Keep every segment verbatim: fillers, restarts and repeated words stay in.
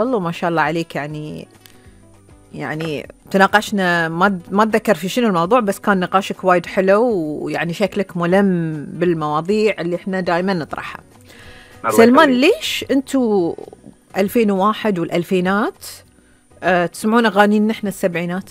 والله ما شاء الله عليك. يعني يعني تناقشنا، ما ما اتذكر في شنو الموضوع، بس كان نقاشك وايد حلو، ويعني شكلك ملم بالمواضيع اللي احنا دائما نطرحها. سلمان، ليش انتوا ألفين وواحد والألفينات أه تسمعون اغاني نحن السبعينات؟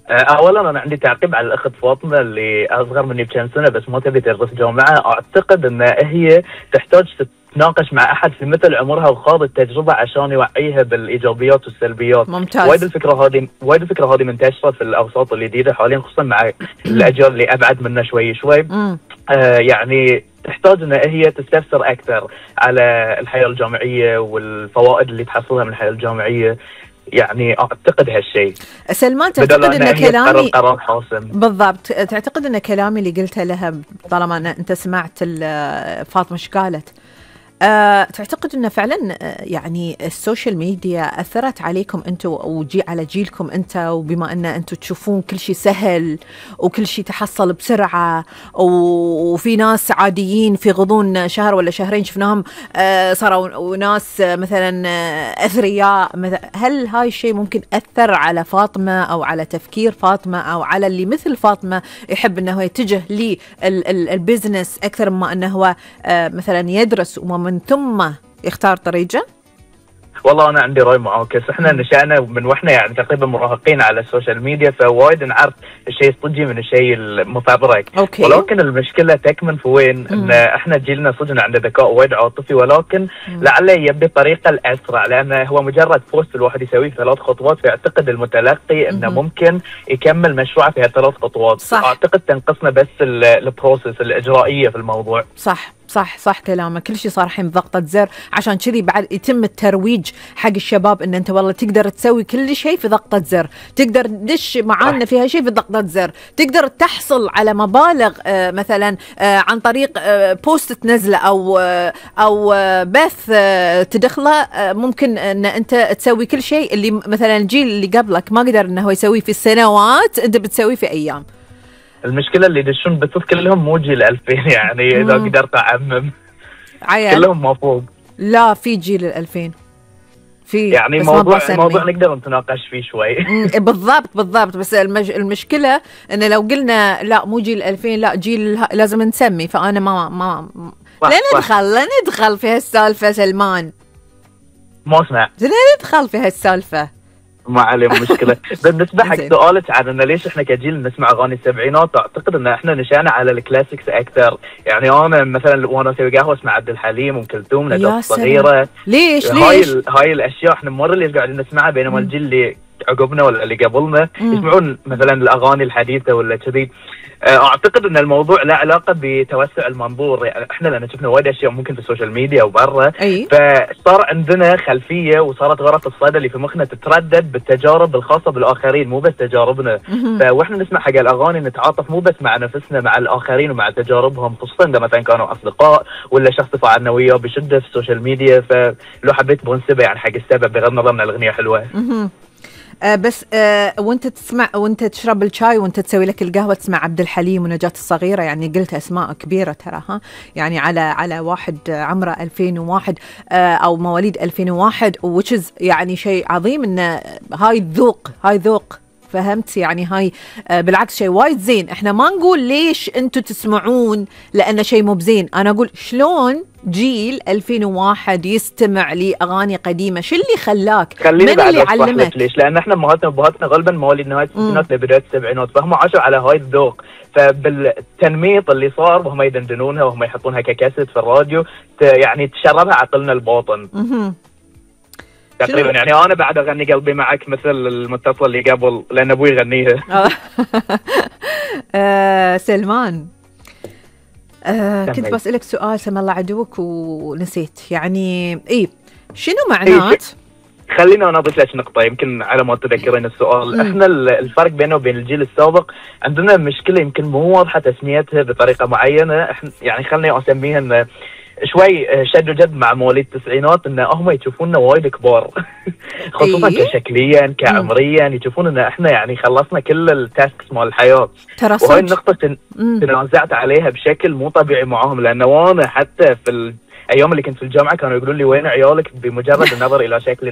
اولا انا عندي تعقيب على الاخت فاطمه اللي اصغر مني بكم سنه بس ما تبي تدرس جامعه. اعتقد ان هي تحتاج تتناقش مع احد في مثل عمرها وخاض التجربه عشان يوعيها بالايجابيات والسلبيات. ممتاز. وايد الفكره هذه وايد الفكره هذه منتشره في الاوساط الجديده حاليا، خصوصا مع الاجيال اللي ابعد منا شوي شوي. آه يعني تحتاج ان هي تستفسر اكثر على الحياه الجامعيه والفوائد اللي تحصلها من الحياه الجامعيه. يعني اعتقد هالشيء. سلمان، تعتقد ان كلامي قرار حاسم؟ بالضبط. تعتقد ان كلامي اللي قلته لها، طالما أن انت سمعت فاطمه ايش قالت، أه تعتقد أنه فعلا يعني السوشيال ميديا أثرت عليكم أنتوا وجي على جيلكم أنت، وبما أن أنتوا تشوفون كل شيء سهل وكل شيء تحصل بسرعة، وفي ناس عاديين في غضون شهر ولا شهرين شفناهم أه صاروا ناس مثلا أثرياء، هل هاي الشيء ممكن أثر على فاطمة أو على تفكير فاطمة أو على اللي مثل فاطمة يحب أنه يتجه للبزنس أكثر ما أنه هو أه مثلا يدرس وما من ثم يختار طريقه؟ والله انا عندي راي معاكس. احنا نشأنا من واحنا يعني تقريبا مراهقين على السوشيال ميديا، فوايد نعرف الشيء الصجي من الشيء المفبرك. أوكي. ولكن المشكله تكمن في وين؟ ان احنا جيلنا صدق عنده ذكاء وايد عاطفي، ولكن لعله يبي الطريقه الاسرع، لانه هو مجرد بوست الواحد يسويه ثلاث خطوات، فيعتقد المتلقي انه ممكن يكمل مشروعه في هالثلاث خطوات. صح. اعتقد تنقصنا بس البروسيس الاجرائيه في الموضوع. صح صح صح كلامك. كل شيء صار الحين بضغطة زر، عشان كذي بعد يتم الترويج حق الشباب ان انت والله تقدر تسوي كل شيء في ضغطة زر، تقدر تدش معانا في هالشيء في ضغطة زر، تقدر تحصل على مبالغ آه مثلا آه عن طريق آه بوست تنزله او آه او آه بث آه تدخله. آه ممكن ان انت تسوي كل شيء اللي مثلا الجيل اللي قبلك ما قدر انه هو يسويه في السنوات، انت بتسويه في ايام. المشكله اللي يدشون بثوث كلهم مو جيل ألفين، يعني اذا قدرت اعمم عيال. كلهم ما فوق. لا، في جيل الألفين في يعني موضوع موضوع نقدر نتناقش فيه شوي. بالضبط بالضبط. بس المج... المشكله ان لو قلنا لا مو جيل ألفين، لا جيل لازم نسمي، فانا ما ما لا ندخل لا ندخل في هالسالفه. سلمان ما اسمع، لا ندخل في هالسالفه، ما عليه مشكله. بالنسبه حق سؤالك عن ان ليش احنا كجيل نسمع اغاني السبعينات، اعتقد ان احنا نشأنا على الكلاسيكس اكثر. يعني انا مثلا وانا اسوي قهوه اسمع عبد الحليم وام كلثوم، نجاة الصغيره. ليش هاي ليش ال... هاي الاشياء احنا مره اللي قاعدين نسمعها، بينما الجيل اللي عقبنا ولا اللي قبلنا مم. يسمعون مثلا الاغاني الحديثه ولا كذي. اعتقد ان الموضوع له علاقه بتوسع المنظور. يعني احنا لان شفنا وايد اشياء ممكن في السوشيال ميديا وبرا، أي. فصار عندنا خلفيه وصارت غرف الصدى اللي في مخنا تتردد بالتجارب الخاصه بالاخرين مو بس تجاربنا. فاحنا نسمع حق الاغاني نتعاطف مو بس مع نفسنا، مع الاخرين ومع تجاربهم، خصوصا اذا مثلا كانوا اصدقاء ولا شخص تفاعلنا وياه بشده في السوشيال ميديا. فلو حبيت بنسبه يعني حق السبب بغض النظر ان الاغنيه حلوه. آه بس آه وانت تسمع وانت تشرب الشاي وانت تسوي لك القهوه تسمع عبد الحليم ونجاة الصغيره، يعني قلت اسماء كبيره ترى، ها يعني على على واحد عمره ألفين وواحد آه او مواليد ألفين وواحد، which is يعني شيء عظيم ان هاي الذوق هاي ذوق، فهمت يعني هاي آه بالعكس شيء وايد زين. احنا ما نقول ليش انتم تسمعون لأنه شيء مو بزين، انا اقول شلون جيل ألفين وواحد يستمع لأغاني قديمة، شو اللي خلاك؟ من اللي علمك؟ ليش؟ لأن احنا امهاتنا وابهاتنا غالبا مواليد نهاية الستينات لبداية السبعينات، فهم عاشوا على هاي الذوق. فبالتنميط اللي صار وهم يدندنونها وهم يحطونها ككاسيت في الراديو يعني تشربها عقلنا الباطن. تقريبا يعني انا بعد اغني قلبي معك مثل المتصل اللي قبل لان ابوي يغنيها. آه سلمان، آه كنت بسألك سؤال سم الله عدوك ونسيت. يعني ايه شنو معنات؟ إيه خلينا انا اضيف لك نقطه يمكن على ما تذكرين السؤال. م. احنا الفرق بينه وبين الجيل السابق عندنا مشكله يمكن مو واضحه تسميتها بطريقه معينه. احنا يعني خليني اسميها ان شوي شد وجذب مع مواليد التسعينات، ان هم يشوفوننا وايد كبار خصوصا إيه؟ كشكليا كعمريا يشوفون ان احنا يعني خلصنا كل التاسكس مال الحياه. وهي النقطه تن... تنازعت عليها بشكل مو طبيعي معاهم، لانه وانا حتى في ال... ايام اللي كنت في الجامعه كانوا يقولوا لي وين عيالك بمجرد النظر الى شكل